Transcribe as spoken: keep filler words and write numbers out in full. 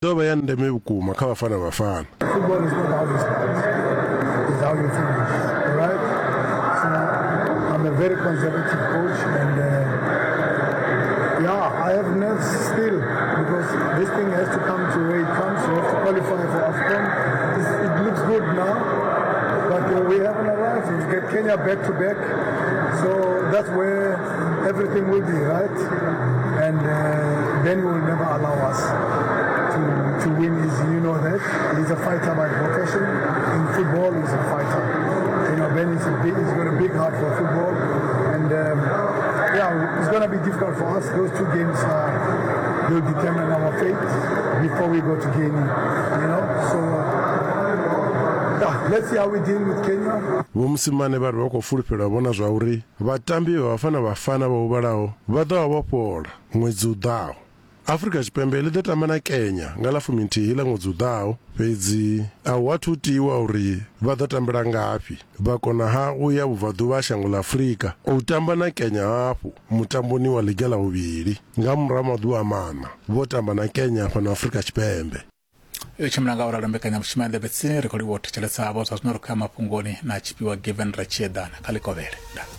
Ḓo vha ya ndeme vhukuma kha Bafana Bafana. Football is not how you start, it's how you finish. All right? So I'm a very conservative coach, and uh, yeah, I have nerves still because this thing has to come to where it comes. We have to qualify for AFCON. It's, it looks good now, but uh, we haven't arrived. We've got Kenya back to back, so that's where everything will be, right? And uh, Ben will never allow us to, to win easy. You know that. He's a fighter by profession. In football, he's a fighter. You know, Ben is a big, he's got a big heart for football. And um, yeah, it's going to be difficult for us. Those two games uh, will determine our fate before we go to Guinea, you know. So yeah, let's see how we deal with Kenya. Vho Mosimane vha ri vha khou fulufhela u vhona zwa uri vhatambi vha Bafana Bafana vho huvhalaho vha ḓo vha vho fhola ṅwedzi u ḓaho. Afrika Tshipembe ḽi ḓo tamba na Kenya nga ḽa fuminthihi ḽa ṅwedzi u ḓaho, fhedzi a hu athu tiwa uri vha ḓo tambela ngafhi. Vha kona ha u ya vhubvaḓuvha ha shango ḽa Afrika u tamba na Kenya hafhu mutamboni wa ḽiga ḽa vhuvhili nga murahu ha maḓuvha maṋa vho tamba na Kenya fhano Afrika Tshipembe. Yo tshimbila nga u ralo mbekanyamushumo ya Nḓevhe Tsini. Ri khou livhuwa u thetshelesa havho. Zwa zwino ri khou ya mafhungoni na tshifhiwa Given Ratshiedana kha Ḽikovhele. Ndaa.